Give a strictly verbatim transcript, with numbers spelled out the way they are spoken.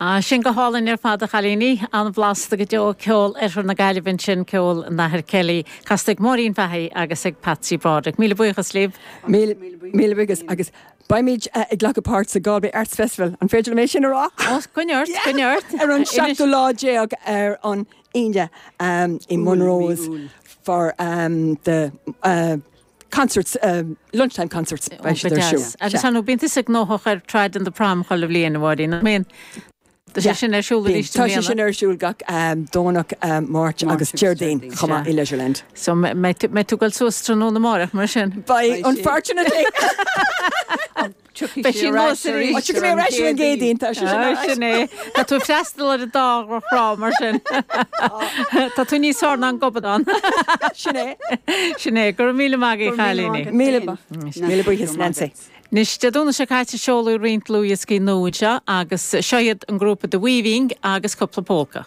Ah, sin go hálainn ar fad a chailíní an-bhlasta go deo ceol Oirthear na Gaillimhe sin ceol an Athar Kelly, casta ag Máirín Fahey agus ag Patsy Broderick. Míle buíochas libh. Míle míle buíochas agus beimid uh, ag glacadh páirt sa Galway Arts Festival an féidir mé sin a rá? Coinnort coinnort ar an seachtú lá déag ar an Aoine um, i Monroe's for um, the uh, concerts um, lunchtime concerts beidh siad ar siúl. Agus an bíonn tusa gnóthach ar Trad and the Prom chuile bhliain a Mháirín. Mín Tá sé sin ar siúl arís Tá sé sin ar siúl gach um, Domhnach um, Máirt agus Déardaoin chomh maith i Leisureland. So mbeidh tú ag dul suas tráthnóna amárach mar sin. Beidh unfortunately. Beidh sí Tiocfaidh mé ar ais an gCéadaoin tá sé sin é Tá tú freastal ar an dá thrá mar sin. Tá tú níos fearr ná an gobadán. Sin é. Sin é gur míle maith chailíní. Míle míle buíochas Nancy. Anois Dé Domhnaigh seo caite seoladh roinnt dlúthdhioscaí nua anseo agus seo iad an grúpa The Weaving agus cúpla polca.